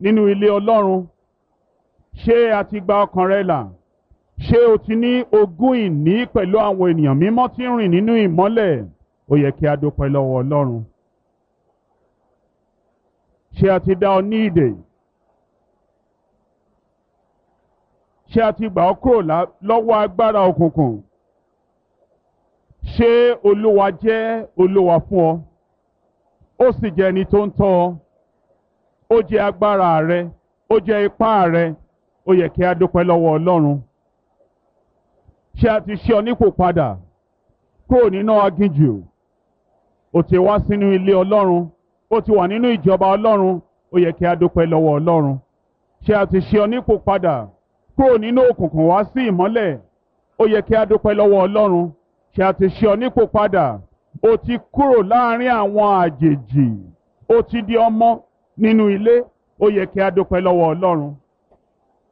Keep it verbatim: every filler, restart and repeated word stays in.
nínú ilé Ọlọ́run? Ṣé a ti gba ọkàn rẹ là? Ṣé o ti ní ogún ìní pẹ̀lú àwọn ènìyàn mímọ́ tí ń rìn nínú ìmọ́lẹ̀? Ó yẹ kí a dúpẹ́ lọ́wọ́ Ọlọ́run. Ṣé a ti dá ọ ní ìdè? Ṣé a ti gbà ọ́ kúrò lọ́wọ́ agbára òkùnkùn? Ṣé Olúwa jẹ́ Olúwa fún ọ? Ó sì jẹ́ ẹni tó ń tọ́ ọ. Ó jẹ́ agbára rẹ, ó jẹ́ ipá rẹ. Ó yẹ kí a dúpẹ́ lọ́wọ́ Ọlọ́run. Ṣé a ti ṣe ọ nípò padà kúrò nínú aginjù? Ó ti wá sínú ilé Ọlọ́run, ó ti wà nínú ìjọba Ọlọ́run. Ó yẹ kí a dúpẹ́ lọ́wọ́ Ọlọ́run. Ṣé a ti ṣe ọ nípò padà kúrò nínú òkùnkùn wá sí ìmọ́lẹ̀? Ó yẹ kí a dúpẹ́ lọ́wọ́ Ọlọ́run. Ṣé a ti ṣe ọ nípò padà? Ó ti kúrò láàrin àwọn àjèjì, ó ti di ọmọ nínú ilé. Ó yẹ kí a dúpẹ́ lọ́wọ́ Ọlọ́run.